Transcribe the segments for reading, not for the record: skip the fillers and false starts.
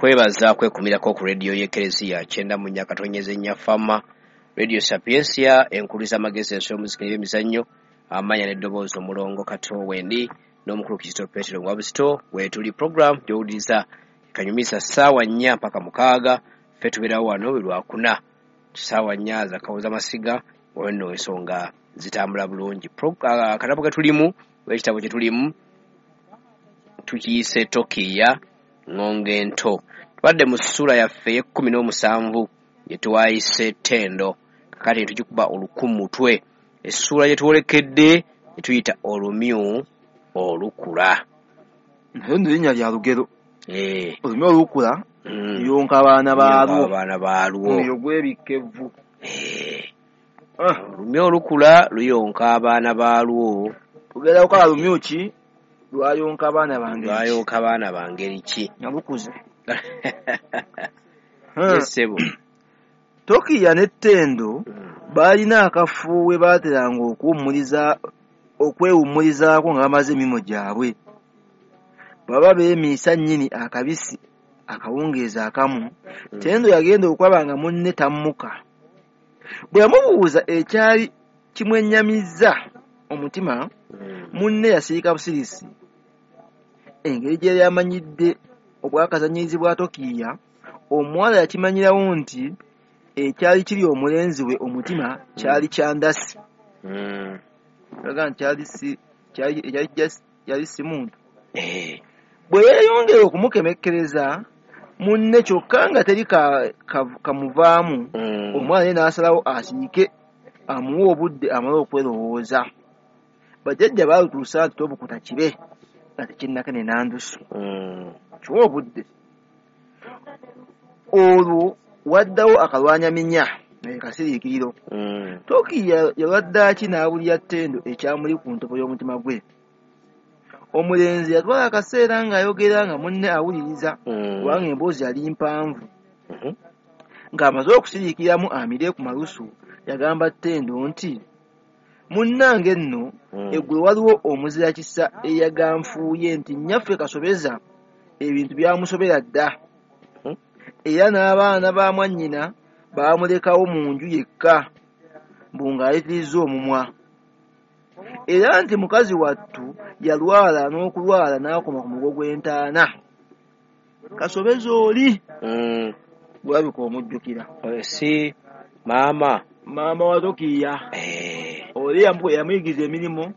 Nkwebaza kwekumirako ku rediyo y'Ekereziya 94.4 Fama, Radio Sapientia, enkuliza amagezi, ensolo, muziki n'ebyemizannyo, amanya n'eddoboozi. Omulongo Kato Wendi n'omukulu Kizito Petero Wabusito weetuli. Program gy'owuliriza kanyumisa ssaawa 4 mpaka 6. Ffe tubeerawo wano buli Lwakuna ssaawa 4 zakawoza masiga. Olwo nno ensonga zitambula bulungi. Akatabo ke tulimu oba ekitabo kye tulimu tukiyise Tokiiya Ŋŋongo Ento. Tubadde mu ssuula yaffe ey'e17 gye twayise Ttendo. Kakati ne tugikuba oluku mutwe. Essuula gye twolekedde gye tuyita Olumyu Olukula. Naye nno linnya lya lugero. Olumyu olukula luyonka abaana baalwo. Abaana baalwo. Omuliro gwebikka evvu. Olumyu olukula luyonka abaana baalwo. Tugenda kukola lumyu ki? Lwayonka abaana bange. Lwayonka abaana bangeri ki? Nga lukuze. Ssebo. Tokiiya ne Ttendo baalina akafo we baateranga okwewummulizaako nga bamaze emirimu gyabwe. Baba beemiisa nnyini akabisi akawungeezi akamu, Ttendo yagenda okulaba nga munne tammuka. Bwe yamubuuza ekyali kimwennyamizza omutima, munne yasirika busirisi. Engeri gye yali amanyidde obwakazanyiikirizi bwa Tokiiya, omuwala yakimanyirawo nti ekyali kiri omulenzi we omutima kyali kya ndasi. Alaga nti kyali si muntu. Bwe yeeyongera okumukemekkereza munne kyokka nga teri kamuvaamu, omwana ye n'asalawo asirike amuwe obudde amale okwerowooza. Bajjajja baalutuusa nti tobukuta kibe nga tekinnakenena ndusu. Kiwe obudde. Olwo waddawo akalwanyaminya kasiriikiriro. Tokiiya yalwadde ki n'abulira Ttendo ekyamuli ku ntobo y'omutima gwe. Omulenzi yatwala akaseera ng'ayogera nga munne awuliriza kubanga emboozi yali mpanvu. Ng'amaze okusiriikiramu amire ku malusu, yagamba Ttendo nti, "Munnange nno, eggulo waliwo omuzirakisa eyaganfuuye nti nnyaffe Kasobeza ebintu byamusobera dda. Era n'abaana ba mwannyina baamulekawo mu nju yekka mbu ng'ayitirizza omumwa. Era nti mukazi wattu yalwala n'okulwala n'akoma ku mugo gw'entaana." Kasobeza oli gw'olabika omujjukira. Si maama. Maama wa Tokiiya. Oli yamuyigiriza emirimu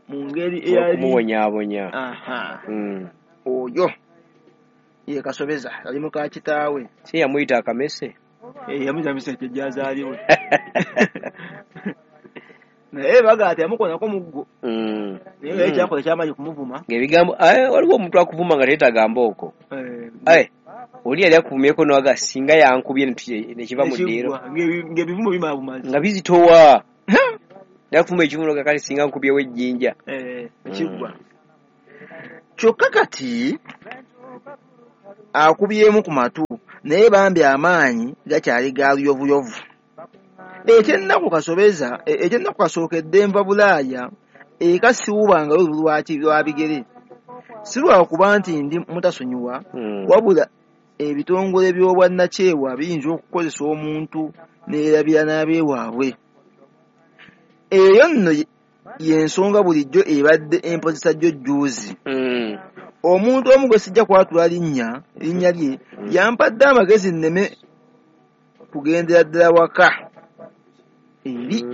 mu ngeri eyali okumubonyaabonya. Oyo ye Kasobeza yali muka kitaawe. Si yamuyita akamese? Yamuyita miseke gy'azaalibwa. Naye baga ati yamukoonako muggo. Naye nga ye kyakola kyamaanyi kumuvuma. Ng'ebigambo waliwo omuntu akuvuma nga teyeetaaga mbooko. Oli yali akuvumyeko n'aga singa yankubye ne kiva mu ddiiro. Ng'ebivumo bimala bumazi. Nga bizitowa. Yakuvuma ekivumo nga kale singa nkubyewo ejjinja. Kiggwa. Kyokka kati akubyemu ku matu naye bambi amaanyi gakyali ga luyovuyovu. Ekyennaku kasookedde nva Bulaaya eka siwubangayo lwa bigere. Si lwakuba nti ndi mutasonyiwa, wabula ebitongole by'obwannakyewa biyinza okukozesa omuntu neerabira n'abeewaabwe. Eyo nno y'ensonga bulijjo ebadde empozesa jjo jjuuzi. Omuntu omu gwe sijja kwatula linnya lye yampadde amagezi nneme kugendera ddala waka eri.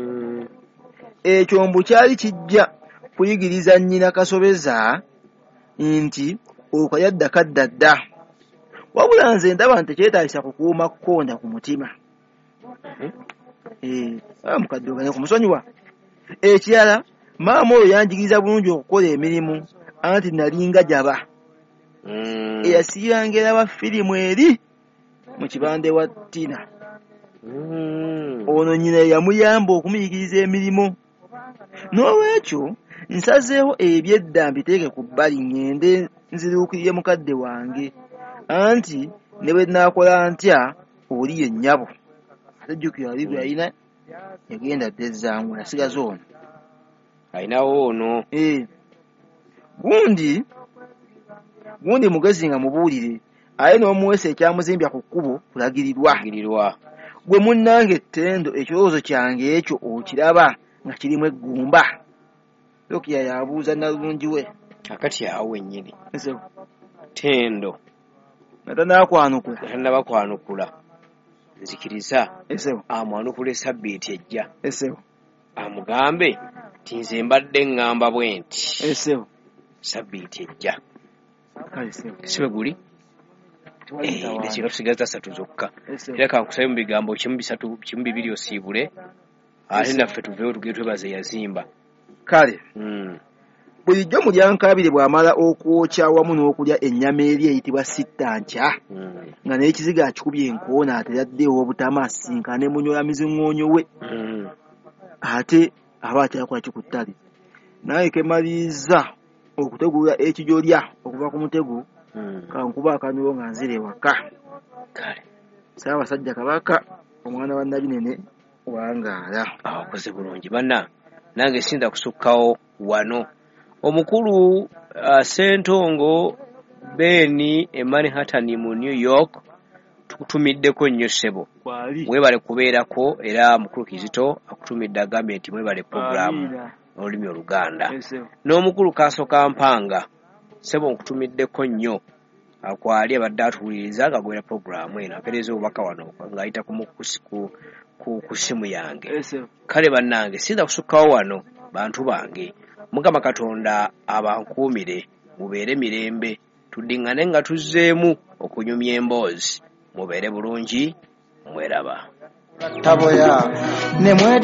Ekyo mbu kyali kijja kuyigiriza nnyina Kasobeza nti okalya kadda dda. Wabula nze ndaba nti tekyetaagisa kukuuma kkonda ku mutima. Mukadde oganye kumusonyiwa. Ekirala, maama oyo yanjigiriza bulungi okukola emirimu anti nalinga jaba. Eyasiibanga eraba firimu eri mu kibanda ewa Tina. Ono nnyina ye yamuyamba okumuyigiriza emirimu. Noolwekyo nsazeewo eby'edda mbiteeke ku bbali ŋŋende nziruukirire mukadde wange anti ne bwe nnaakola ntya oli ye nnyabo. Ate jjukira ali gwe yalina yagenda dda ezzangwe yasigaza ono. Alinawo ono. Gundi mugezi nga mubuulire Aye n'omuweesa ekyamuzimbya ku kkubo kulagirirwa. Girirwa. Gwe munnange Ttendo, ekirowoozo kyange ekyo okiraba nga kirimu eggumba? Lukiya yabuuza nalulungi we. Akati awo wennyini. Ssebo. Ttendo. Nga tannakwanukula. Nga tannaba kwanukula. Nzikiriza. Ssebo. Amwanukule sabbiiti ejja. Ssebo. Amugambe nti nze mbadde ŋŋamba bwe nti. Ssebo. Sabbiiti ejja. Kale ssebo. Si bwe guli? Eddakiika tusigaza 3 zokka. Ssebo. Era kankusabe mu bigambo 1 3 1 2 osiibule. Ate naffe tuveewo tugende twebaze yazimba. Kale. Bulijjo Mulyankaabire bw'amala okwokya awamu n'okulya ennyama eri eyitibwa sittankya, nga n'ekizigo akikubye enkoona atera adde ew'obutama asisinkane Munyola-miziŋoonyo we. Ate aba akyakola ki ku ttale. Nange ke mmaliriza okutegulula ekijolya okuva ku mutego, kankuba akanulo nga nzira ewaka. Kale. Ssaabasajja Kabaka, omwana wa Nabinene, wangaala. Akoze bulungi banna, nange sinda kusukkawo wano. Omukulu Ssentongo Ben e Manhattan mu New York, tukutumiddeko nnyo ssebo. Mwebale kubeerako, era mukulu Kizito akutumidde agambye nti mwebale pulogulaamu olulimi Oluganda. N'omukulu Kaaso Kampanga, ssebo nkutumiddeko nnyo. Akwali abadde atuwuliriza ng'agobera pulogulaamu eno, apeereza obubaka wano ng'ayita ku ssimu yange. Kale bannange sinza kusukkawo wano, bantu bange. Mukama Katonda abankuumire, mubeere mirembe, tuddiŋŋane nga tuzzeemu okunyumya emboozi. Mubeere bulungi, mweraba. Taboya ne mwe